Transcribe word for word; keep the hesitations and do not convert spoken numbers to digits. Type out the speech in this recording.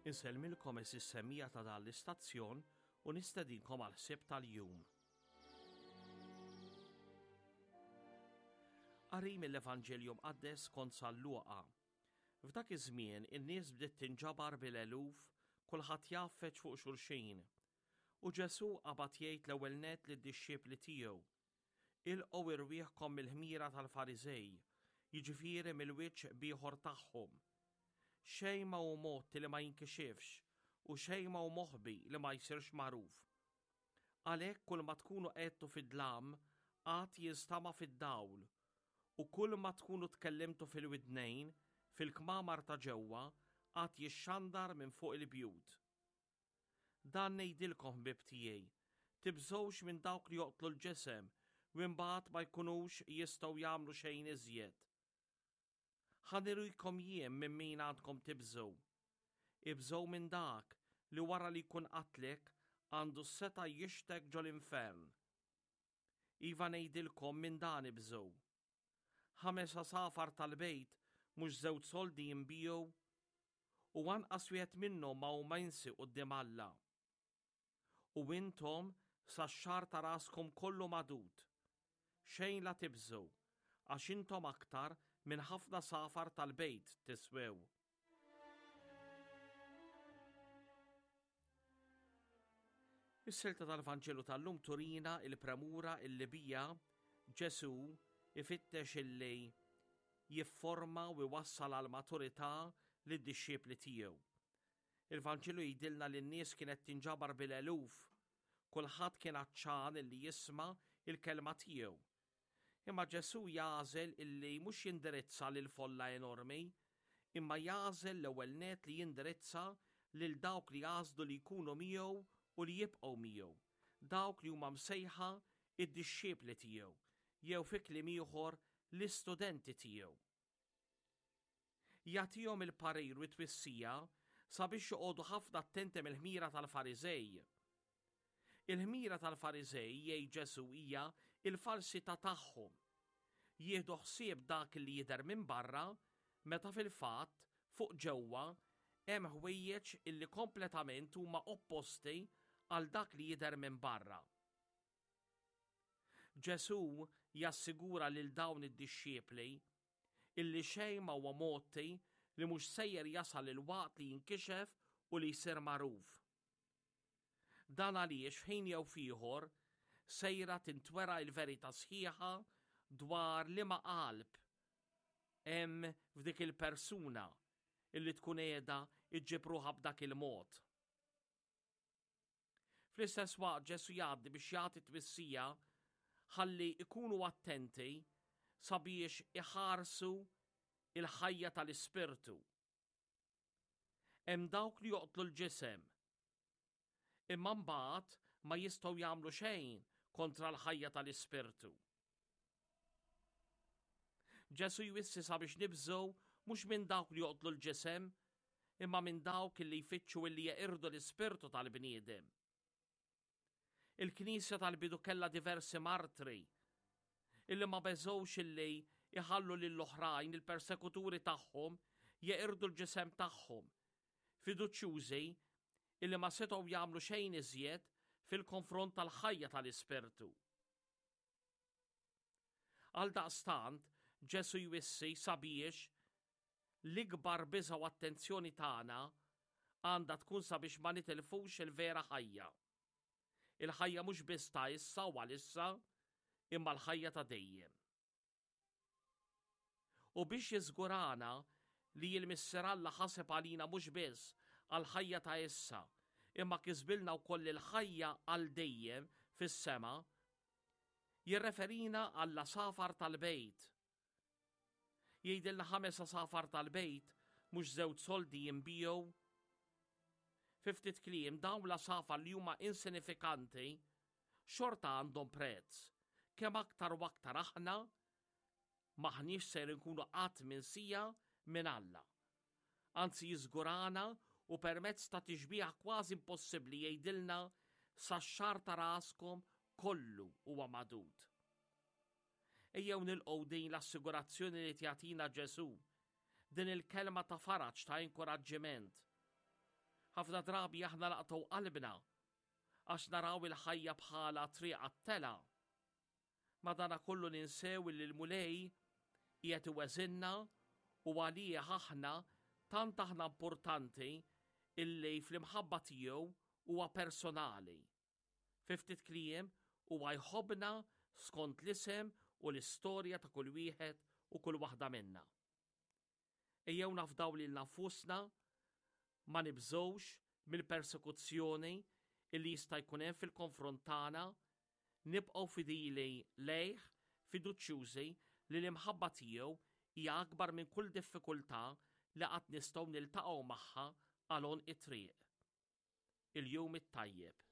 Insellmilkom għeżież semmiegħa ta' dan l-istazzjon u nistedinkom għal ħsieb tal-jum. Qari mill-Evanġelju Mqaddes skont San Luqa. F'dak iż-żmien in-nies bdiet tinġabar bil-eluf, kulħadd jgħaffeġ fuq xulxin. U Ġesù qabad jgħid l-ewwel nett lid-dixxipli tiegħu, Ilqgħu irwieħkom mill-ħmira tal-Fariżej, jiġifieri mill-wiċċ b'ieħor tagħhom. Xejn ma hu mgħotti li ma jinkixifx, u xejn ma hu moħbi li ma jsirx magħruf. Għalhekk kull ma tkunu għedtu fid-dlam għad jinstama' fid-dawl, u kull ma tkunu tkellimtu fil-widnejn, fil-kmamar ta' ġewwa, għad jixxandar minn fuq il-bjut. Dan ngħidilkom ħbieb tiegħi, tibżgħux minn dawk li joqtlu l-ġisem u imbagħad ma jkunux jistgħu jagħmlu xejn iżjed. Ħa nurikom jien minn min għandkom tibżgħu. Ibżgħu minn dak li wara li jkun qatlek għandu s-setgħa jixtek ġol-infern. Iva ngħidilkom minn dan ibżgħu. Ħames għasafar tal-bejt mhux żewġ soldi jinbiegħu u anqas wieħed minnhom ma hu minsi quddiem Alla. U intom sax-xagħar ta' raskom kollu magħdud. Xejn la tibżgħu, għax intom aktar minn ħafna safar tal-bejt tiswew. Is-silta tal-Vanġelu tal-lum turina il-premura illi bija Ġesù ifittex illi jifforma u jwassal għal maturità lid-dixxipli tiegħu. Il-Vanġelu jgħidilna li n-nies kienet tinġabar bil-eluf, kulħadd kien għatxan illi jisma' il-kelma tiegħu. Imma Ġesù jagħżel illi mhux jindirizza lil folla enormi, imma jagħżel l-ewwel nett li jindirizza lil dawk li għażlu li jkunu miegħu u li jibqgħu miegħu, dawk li huma msejħa id-dixxipli tiegħu, jew fi kliem ieħor l-istudenti tiegħu. Jagħtihom il-parir u t-twissija sabiex joqogħdu ħafna attenti mill-ħmira tal-Fariżej. Il-ħmira tal-Fariżej, jgħid Ġesù, hija l-falsità tagħhom. Jieħdu ħsieb dak li jidher minn barra, meta fil-fatt fuq ġewwa hemm ħwejjeġ illi kompletament huma opposti għal dak li jidher minn barra. Ġesù jassigura lil dawn id-dixxipli illi xejn ma huwa mgħotti li mhux sejjer jasal il-waqt li jinkixef u li jsir magħruf. Dan għaliex f'ħin jew f'ieħor sejra tintwera l-verità sħiħa dwar liema qalb hemm f'dik il-persuna illi tkun qiegħda iġġib ruħha b'dak il-mod. Fl-istess waqt Ġesù jgħaddi biex jagħti twissija ħalli ikunu attenti sabiex iħarsu il-ħajja tal-ispirtu. Hemm dawk li joqtlu l-ġisem, imma mbagħad ma jistgħu jagħmlu xejn kontra l-ħajja tal-ispirtu. Ġesù jwissi sabiex nibżgħu mhux minn dawk li joqtlu l-ġisem, imma minn dawk li jfittxu illi jeqirdu l-ispirtu tal-bniedem. Il-Knisja tal-bidu kellha diversi martri illi ma beżgħux illi jħallu lill-oħrajn, il-persekuturi tagħhom, jeqirdu l-ġisem tagħhom, fiduċjużi illi ma setgħu jagħmlu xejn iżjed fil-konfront tal-ħajja tal-ispirtu. Għaldaqstant, Ġesù jwissi sabiex l-ikbar biża' u attenzjoni tagħna għandha tkun sabiex ma nitilfux il-vera ħajja. Il-ħajja mhux biss ta' issa u għalissa, imma l-ħajja ta' dejjem. U biex jiżgurana li l-Missier Alla ħaseb għalina mhux biss għall-ħajja ta' issa, imma kisbilna wkoll il-ħajja għal dejjem fis-sema, jirreferina għall-għasafar tal-bejt. Jgħidilna ħames għasafar tal-bejt mhux żewġ soldi jinbiegħu. Fi ftit kliem, dawn l-għasafar li huma insinifikanti xorta għandhom prezz, kemm aktar u aktar aħna m'aħniex ser inkunu qatt minsija minn Alla. Anzi jiżgurana u permezz ta' tixbieha kważi impossibbli jgħidilna sax-xagħar ta' raskom kollu huwa magħdud. Ejjew nilqgħu din l-assigurazzjoni li tagħtina Ġesù, din il-kelma ta' faraġ ta' inkoraġġiment. Ħafna drabi aħna naqtgħu qalbna għax naraw il-ħajja bħala triq għat-telgħa. Madanakollu ninsew li l-Mulej qiegħed iweżinna u għalih aħna tant aħna importanti illi fl-imħabba tiegħu huwa personali. Fi ftit kliem huwa jħobbna skont l-isem u l-istorja ta' kull wieħed u kull waħda minna. Ejjew nafdaw lil nfusna, ma nibżgħux mill-persekuzzjoni illi jista' jkun hemm fil-konfront tagħna, nibqgħu fidili lejh, fiduċjużi li l-imħabba tiegħu hija akbar minn kull diffikultà li qatt nistgħu niltaqgħu magħha għal it-triq. Il-jum it-tajjeb.